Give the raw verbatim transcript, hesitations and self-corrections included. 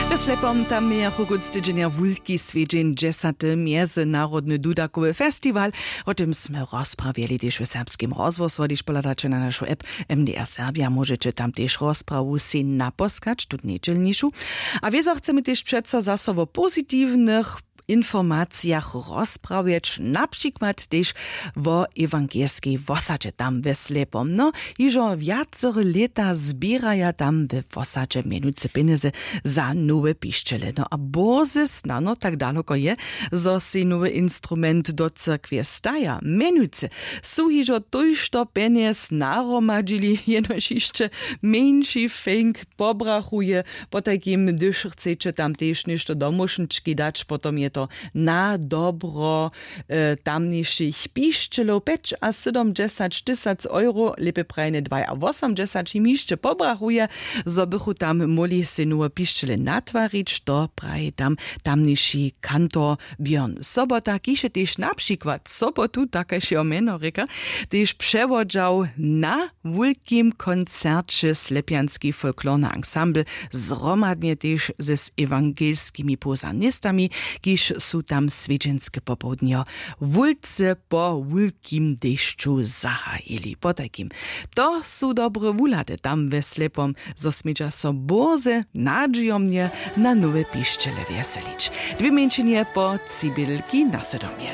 W slepom tam mějachu kónc tydźenja wulki swjedźeń, dźesaty mjezynarodny dudakowy festiwal. Wo tym smy rozprawjeli tež w serbskim rozhłosu, hdyž pohladać na našu app. M D R Serbia, móžeće tam tež rozprawu sej naposkać tutnje dźělnišu. A wězo chcemy tež přeco zaso wo pozitiwnych informacijach rozprawjeć, na přikład tež wo ewangelskej wosadźe tam we slepom. No, hižo wjacore lěta zběraja tam we wosadźe mjenujcy pjenjezy za nowe pišćele. No a bórze snano tak daloko je, zo sej nowy instrument do cyrkwje staja. Mjenujcy su hižo tójšto pjenjez nahromadźili, jenož hišće mjeńši fenk pobrachuje. Potajkim hdyž chceće tam tež něšto do móšnički dać, potom je to na dobro tamnišich pišćelow. Pjećasydomdźesać tysac euro, lěpje prajene dwajawosomdźesać, jim hišće pobrachuje, zo bychu tam móhli sej nowe pišćele natwarić. To praji tam tamniši kantor Björn Sobota, kiž je tež na přikład sobotu, tak kaž jeho mjeno rěka, tež přewodźał na wulkim koncerće slepjanski folklorny ansambl, zhromadnje tež z ewangelskimi posanistami, kiž su tam swjedźenske popołdnjo wulce po wulkim dešću zahajili. Potajkim, to su dobre wuhlady tam we slepom, zo smědźa so bórze nadźijomnje na nowe pišćele wjeselić. Dwě mjeńšinje po cibělki na sydomje.